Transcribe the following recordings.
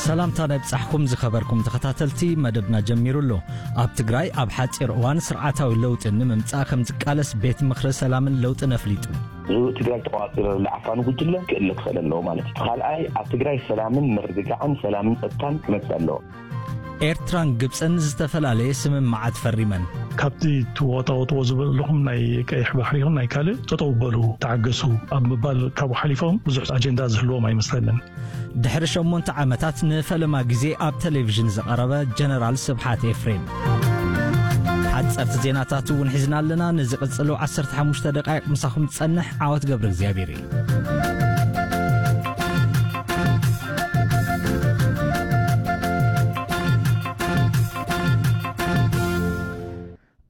ሰላምታ ናይ ብጻሕኩም ዝኸበርኩም ተኸታተልቲ፣ መደብና ጀሚሩ ኣሎ። ኣብ ትግራይ ኣብ ሓጺር እዋን ስርዓታዊ ለውጢ ንምምጻእ ከም ዝቃለስ ቤት ምኽሪ ሰላምን ለውጥን ኣፍሊጡ። እዚ ትግራይ ተቋፂሩ ዘሎ ዓፋኑ ጉጅለ ክእለ ክኽእል ኣለዎ ማለት እዩ። ካልኣይ፣ ኣብ ትግራይ ሰላምን ምርግጋዕን፣ ሰላምን ጸጥታን ክመጽእ ኣለዎ። ኤርትራን ግብጽን ዝተፈላለየ ስምምዓት ፈሪመን። ካብቲ ትዋጣወጥዎ ዝበለኹም ናይ ቀይሕ ባሕሪ ይኹን ናይ ካልእ ጠጠው በሉ፣ ተዓገሱ ኣብ ምባል ካብኡ ሓሊፎም ብዙሕ ኣጀንዳ ዝህልዎም ኣይመስለንን። ድሕሪ ሸሞንተ ዓመታት ንፈለማ ግዜ ኣብ ቴሌቪዥን ዝቐረበ ጀነራል ስብሓት ኤፍሬም። ሓጸርቲ ዜናታት እውን ሒዝና ኣለና። ንዝቕጽሉ ዓሰርተ ሓሙሽተ ደቃይቕ ምሳኹም ዝጸንሕ ዓወት ገብረ እግዚኣብሔር እዩ።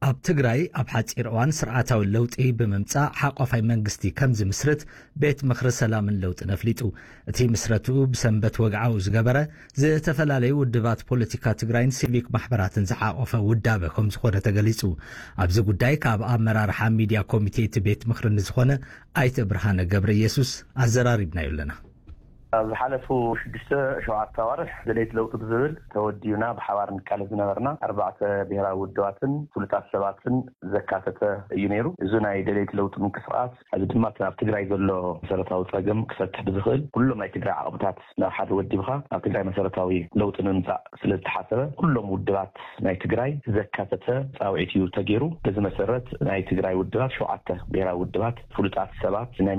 ኣብ ትግራይ ኣብ ሓጺር እዋን ስርዓታዊ ለውጢ ብምምጻእ ሓቋፋይ መንግስቲ ከም ዝምስርት ቤት ምኽሪ ሰላምን ለውጥን ኣፍሊጡ። እቲ ምስረትኡ ብሰንበት ወግዓኡ ዝገበረ ዝተፈላለዩ ውድባት ፖለቲካ ትግራይን ሲቪክ ማሕበራትን ዝሓቆፈ ውዳበ ከም ዝኾነ ተገሊጹ። ኣብዚ ጉዳይ ካብ ኣመራርሓ ሚድያ ኮሚቴ እቲ ቤት ምኽሪ ንዝኾነ ኣይተ ብርሃነ ገብረ ኢየሱስ ኣዘራሪብናዮ ኣለና። ኣብ ዝሓለፉ ሽዱሽተ ሸውዓተ ኣዋርሕ ደለይቲ ለውጢ ብዝብል ተወዲብና ብሓባር ንቃለስ ዝነበርና ኣርባዕተ ብሔራዊ ውድባትን ፍሉጣት ሰባትን ዘካተተ እዩ ነይሩ። እዚ ናይ ደለይቲ ለውጢ ምንቅስቃስ፣ እዚ ድማ እቲ ኣብ ትግራይ ዘሎ መሰረታዊ ጸገም ክፈትሕ ብዝኽእል ኩሎም ናይ ትግራይ ዓቕምታት ናብ ሓደ ወዲብኻ ኣብ ትግራይ መሰረታዊ ለውጢ ንምምጻእ ስለ ዝተሓሰበ፣ ኩሎም ውድባት ናይ ትግራይ ዘካተተ ጻውዒት እዩ ተገይሩ። በዚ መሰረት ናይ ትግራይ ውድባት፣ ሸውዓተ ብሔራዊ ውድባት፣ ፍሉጣት ሰባት፣ ናይ